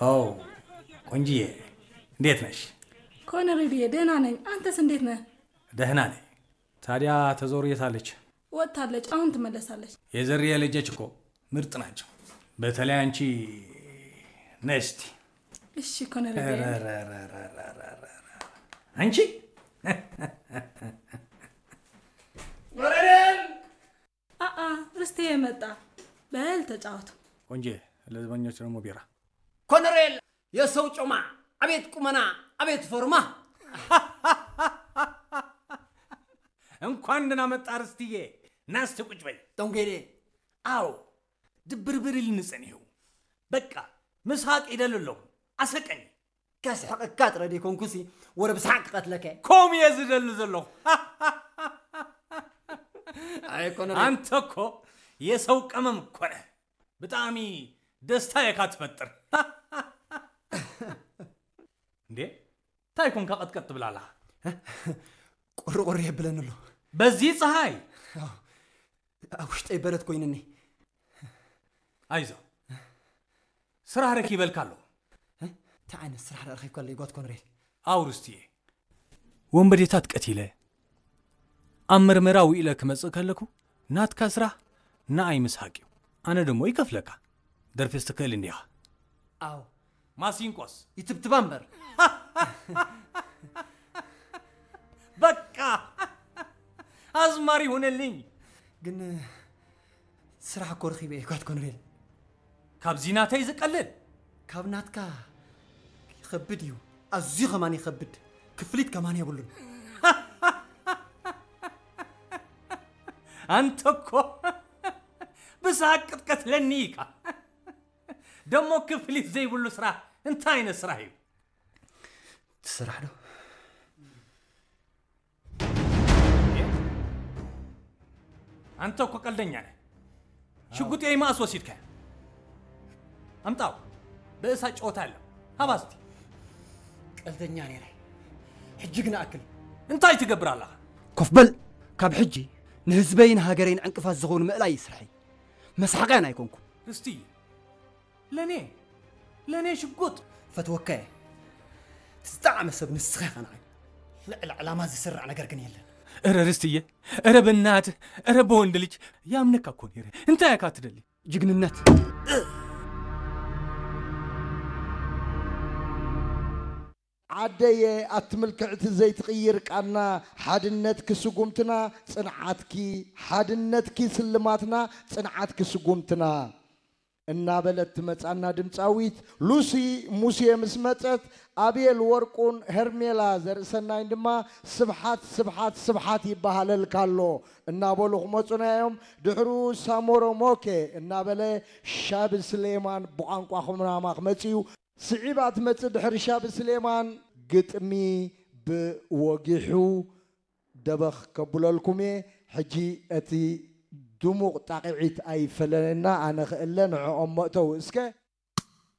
ኦ ቆንጂዬ፣ እንዴት ነሽ? ኮነሬድዬ፣ ደህና ነኝ። አንተስ እንዴት ነህ? ደህና ነኝ። ታዲያ ተዞር የት አለች? ወጥታለች፣ አሁን ትመለሳለች። የዘርዬ ልጆች እኮ ምርጥ ናቸው። በተለይ አንቺ ነስቲ። እሺ ኮነሬድዬ። አንቺ አአ፣ ርስቴ የመጣ። በል ተጫወቱ። ቆንጂዬ፣ ለዘበኞች ደግሞ ቢራ። ኮነሬል፣ የሰው ጮማ፣ አቤት ቁመና፣ አቤት ፎርማ። እንኳን ደህና መጣ ርስትዬ። ና እስቲ ቁጭ በል። ቶንጌዴ። አዎ፣ ድብርብር ኢልኒ ጸኒሑ። በቃ፣ ምስሓቅ ይደሊ ኣለኹ። ኣሰቀኒ። ከስሕቀካ ጥረ ደይኮንኩሲ፣ ወረ ብስሓቅ ክቐትለከ። ከምኡ እየ ዝደሊ ዘለኹ። ኣይ ኮነሬል። ኣንተ እኮ የሰው ቀመም እኮ ነህ። ብጣዕሚ ደስታ እየካ ትፈጥር። እንዴ፣ እንታይ ኮንካ ቀጥቀጥ ትብል ኣለኻ? ቁርቁር የብለኒ ኣሎ። በዚ ፀሃይ? ኣብ ውሽጠይ በረድ ኮይንኒ። ኣይዞ፣ ስራሕ ረኪበልካ ኣለኹ። እንታይ ዓይነት ስራሕ ረኺብካ ኣሎ ጓት ኮንሬል? ኣውርስቲ እየ። ወንበዴታት ቀቲለ ኣብ መርመራ ውኢለ ክመጽእ ከለኩ፣ ናትካ ስራሕ ንኣይ ምስሓቅ እዩ። ኣነ ደሞ ይከፍለካ። ደርፌስ ትክእል እንዲኻ። ኣው። ማሲንቆስ? ይትብትባ እምበር። በቃ! ኣዝማሪ ሁንልኝ። ግን ስራሕ እኮ ረኺበ እየ ጓት ኮንሬል። ካብዚ ናተይ ዝቀልል? ካብ ናትካ ይኸብድ እዩ። ኣዝዩ ከማን ይኸብድ። ክፍሊት ከማን የብሉን። ኣንተ እኮ ብሳቅ ክትቀትለኒ ኢካ። ደሞ ክፍሊት ዘይብሉ ስራሕ እንታይ ዓይነት ስራሕ እዩ? እቲ ስራሕ ዶ? ኣንተ እኮ ቀልደኛ ነህ። ሽጉጥ የይ ማእስ ወሲድካ? ኣምጣው። በእሳ ጨወታ ኣለ። ሃባ እስቲ። ቀልደኛ ነይረ። ሕጂ ግን ኣክል። እንታይ ትገብር ኣለኻ? ኮፍ በል። ካብ ሕጂ ንህዝበይን ሃገረይን ዕንቅፋት ዝኾኑ ምእላይ እዩ ስርሐይ። መስሓቕያን ኣይኮንኩን። እስቲ ለኔ፣ ለኔ ሽጉጥ። ፈትወካ እየ። እቲ ዝጠዓመ ሰብ ንስኻ ኢኻ ንዓይ። ልዕሊ ዕላማ ዝስራዕ ነገር ግን የለን። እረ ርስትዬ፣ እረ በናትህ፣ እረ በወንድ ልጅ ያምነካ እኮ ነይረ። እንታይ እካ ትደሊ? ጅግንነት። ዓደየ ኣቲ ምልክዕቲ ዘይትቕይር ቃና፣ ሓድነትኪ ስጉምትና፣ ጽንዓትኪ ሓድነትኪ ስልማትና፣ ጽንዓትኪ ስጉምትና እናበለት ትመጻና ድምጻዊት ሉሲ ሙሴ ምስ መጸት፣ ኣቤል ወርቁን ሄርሜላ ዘርእሰናይን ድማ ስብሓት፣ ስብሓት፣ ስብሓት ይበሃለልካ ኣሎ እናበሉ ክመጹና እዮም። ድሕሩ ሳሞሮ ሞኬ እናበለ ሻብ ስሌማን ብቋንቋ ኩናማ ክመጽእ እዩ። ስዒባ ትመጽእ ድሕሪ ሻብ ስሌማን ግጥሚ ብወጊሑ ደበኽ ከብለልኩም እየ። ሕጂ እቲ ድሙቕ ጣቕዒት ኣይፈለየና፣ ኣነ ክእለ ንዕኦም መእተው እስከ።